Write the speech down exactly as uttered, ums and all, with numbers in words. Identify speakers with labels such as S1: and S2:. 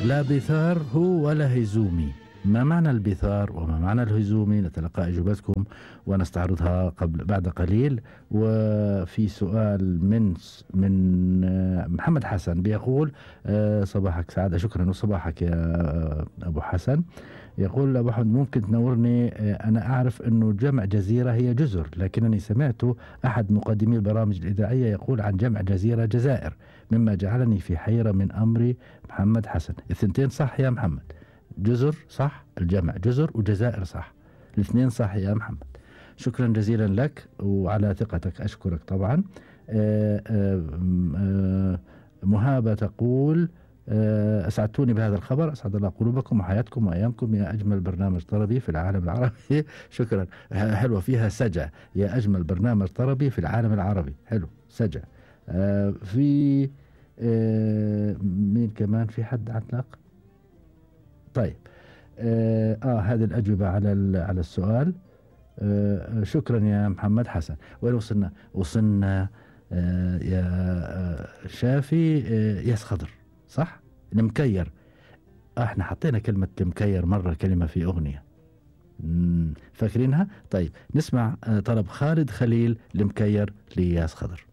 S1: لا بثار هو ولا هيزومي. ما معنى البثار وما معنى الهزومي؟ نتلقى إجابتكم ونستعرضها قبل بعد قليل. وفي سؤال من من محمد حسن بيقول صباحك سعادة. شكرا وصباحك يا أبو حسن. يقول أبو حمد ممكن تنورني؟ أنا أعرف أنه جمع جزيرة هي جزر، لكنني سمعت أحد مقدمي البرامج الإذاعية يقول عن جمع جزيرة جزائر، مما جعلني في حيرة من أمري. محمد حسن، الثنتين صح يا محمد، جزر صح، الجمع جزر، وجزائر صح، الاثنين صح يا محمد. شكرا جزيلا لك وعلى ثقتك، أشكرك طبعا. آآ آآ مهابة تقول أسعدتوني بهذا الخبر، أسعد الله قلوبكم وحياتكم وأيامكم يا أجمل برنامج طربي في العالم العربي. شكرا، حلوة فيها سجع، يا أجمل برنامج طربي في العالم العربي، حلو سجع. في مين كمان؟ في حد علق؟ طيب آه, آه هذه الأجوبة على على السؤال. آه شكرا يا محمد حسن. وين وصلنا؟ وصلنا آه يا آه شافي آه ياس خضر، صح؟ المكير. آه احنا حطينا كلمة المكير مرة، كلمة في أغنية فاكرينها؟ طيب نسمع آه طلب خالد خليل المكير لياس خضر.